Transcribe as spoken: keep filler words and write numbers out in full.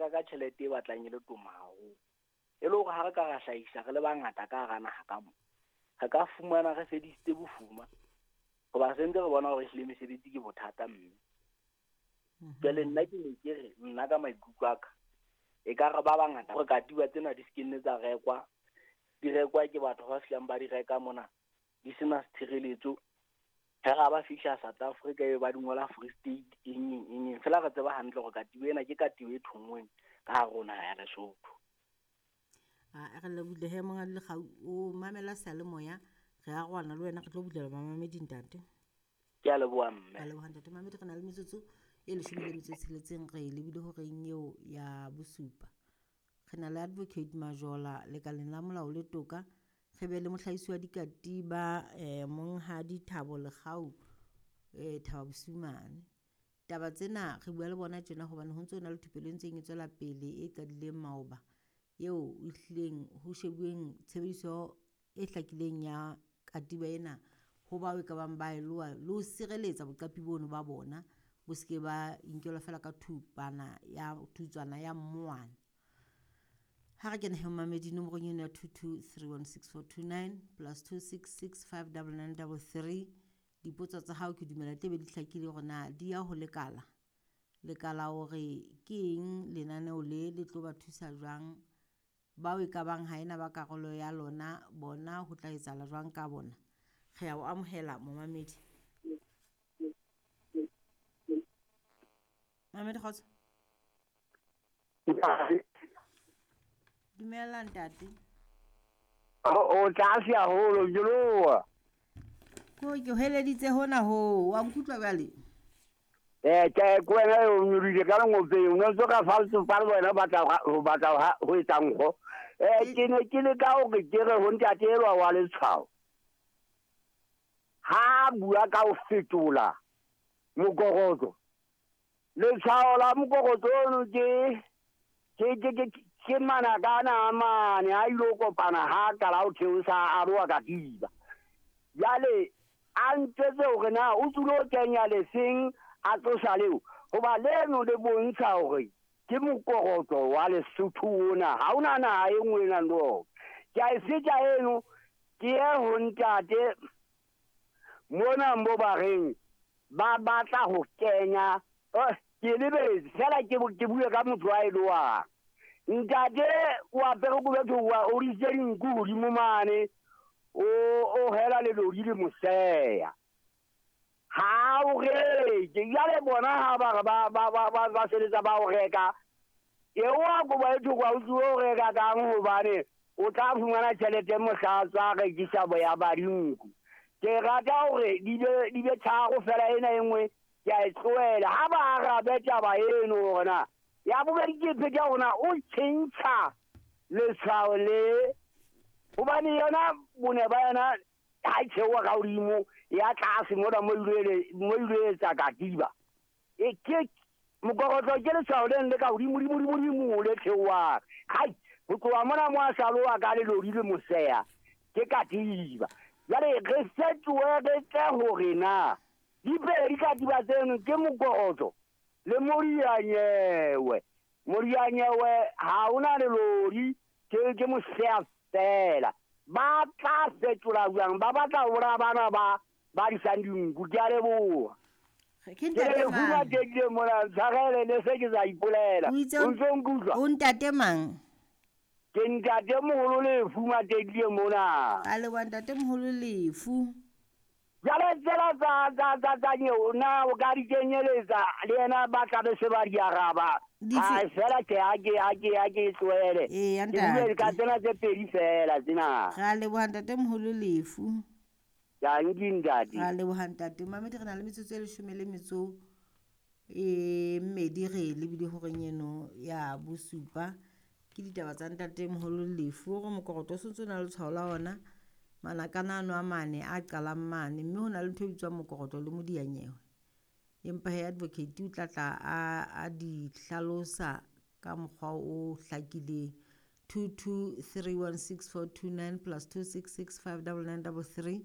reka ka tjhelete e batlang e le toma haholo. E le hore ha re ka ra hlahisa re le bangata ka hara naha ka mo, re ka fumana re fedisitse bofuma. Hoba se ntse re bona hore ehlile mesebetsi ke bothata mme. Jwale nna ke ne ke re nna ka maikutlo a ka, ekare ba bangata hore katiba tsena di se ke nne tsa rekwa, di rekwa ke batho ba fihlang ba di reka mona, di sena tshireletso. Ha ra ba fihla South Africa e ba di ngola Free State eng eng eng eng. Feela re tseba hantle hore katiba ena ke katiba e thonngweng ka hare ho naha ya Lesotho. A re lebohile he monghadi Lekgau, o mamela seyalemoya, re arohana le wena re tlo bulela bamamedi ntate. Ke a leboha mme. Ka leboha ntate Mamedi, re na le metsotso e leshome le metso e tsheletseng re lebile horeng eo ya bosupa. Re na le Advocate Majola lekaleng la molao le toka, re be le mohlahisi wa dikatiba eh, monghadi Thabo Lekgau eh, Thaba Bosiu mane. Taba tsena re bua le bona tjena hobane ho ntso na le thupelo e ntseng e tswela pele e qadileng maoba eo e hlileng ho shebuweng tshebediso e hlakileng ya katiba ena ho bao e ka bang ba e loha le ho sireletsa boqapi bono ba bona bo se ke ba inkelwa feela ka thupana ya thutswana ya mmowana. Ha re kene he momamedi nomorong eno ya two two three one six four two nine plus two six six five double nine double three. Dipotso tsa hao ke dumela tebe di hlakile hore na di ya ho lekala. Lekala hore ke eng lenaneo le le tlo ba thusa jwang, bao e ka bang ha ena ba karolo ya lona bona ho tla etsahala jwang ka bona. Re a o amohela momamedi. Mamedi kgotso. Dumela ntate. O tlase haholo joloa. Ko ke heleditse hona ho, wa nkutlwa jwale? Eh ke ko wena o nyolile ka lengopeng, o ntse ka falso fa le wena batla ho batla ho etsa nkgo. Eh ke ne ke le ka hore ke re ho ntate elwa wa letshwao. Ha bua ka ho fetola mokokotlo. Letshwao la mokokotlo ono ke ke ke ke ke manakana a mane a ilo kopana ha qala ho theosa a roa katiba. Jwale a ntjwetse hore na o tsulo kenya leseng a tlosa leo, hoba leno le bontsha hore ke mokokotlo wa Lesotho ona, ha ona naha e nngwe e nang le ona. Ke a e feta eno, ke ye ho ntate mona mo ba reng ba batla ho kenya, eh, ke lebetse fela ke ke bue ka motho a e loang. Ntate o apere kobo e tshweu, o ritse dinku hodimo mane, o o hela lelodi le moseya. Ha o reke, jwale bona ha ba re ba ba ba ba ba sebetsa ba o reka. E wa kobo e tshweu, o tlo o reka kang hobane o tla fumana tjhelete mohla tsa rekisa boya ba dinku. Ke rata hore di be di be tharo fela ena e nngwe ke a e tlohela. Ha ba arabe taba eno hore na ya bobedi ke pheta hore na o tjhentjha letshwao le, hobane yona bone ba yona ha e theoha ka hodimo ya tlase mona mo ile mo ile etsa katiba. E ke mokokotlo ke letshwao le le ka hodimo hodimo hodimo le theohang. Hai, ho tloha mona mo a salowa ka lelodi le moseya ke katiba. Jwale re fetohe re tle hore na dipedi katiba tseno ke mokokotlo le morianyewe. Morianyewe ha ona lelodi, ke ke moseya fela. Ba tla fetola jwang? Ba batla ho bolaya bana ba ba disang dinku. Ke a leboha. Ke ntate Ke mang? bua teng mona, tshwarele ne se ke sa ipolela. O itse O ntso nkutlwa? O ntate mang? Ke ntate moholo Lefu Matedie mona. A leboha ntate moholo Lefu. Jwale tsela tsa tsa tsa tsa nyeo na o ka di kenyeletsa le yena ba tla be se ba di araba. Dife? Ha fela ke ha ke ha ke ha ke tlohele. Eya, Ke bue ka ntate. tsena tse pedi fela tsena. Re a leboha ntate moholo Lefu. Dankie ntate. Re a leboha ntate. Mamedi re na le metsotso e leshome le metso e mmedi re lebile horeng eno ya bosupa. Ke ditaba tsa ntate moholo Lefu hore mokokotlo o sontso o na le letshwao la ona. Manakana ano a mane a qalang mane, mme ho na le ntho e bitswang mokokotlo le modianyewe. Empa he advocate o tla tla a, a di hlalosa ka mokgwa o hlakileng. two two three one six four two nine plus two six six five double nine double three.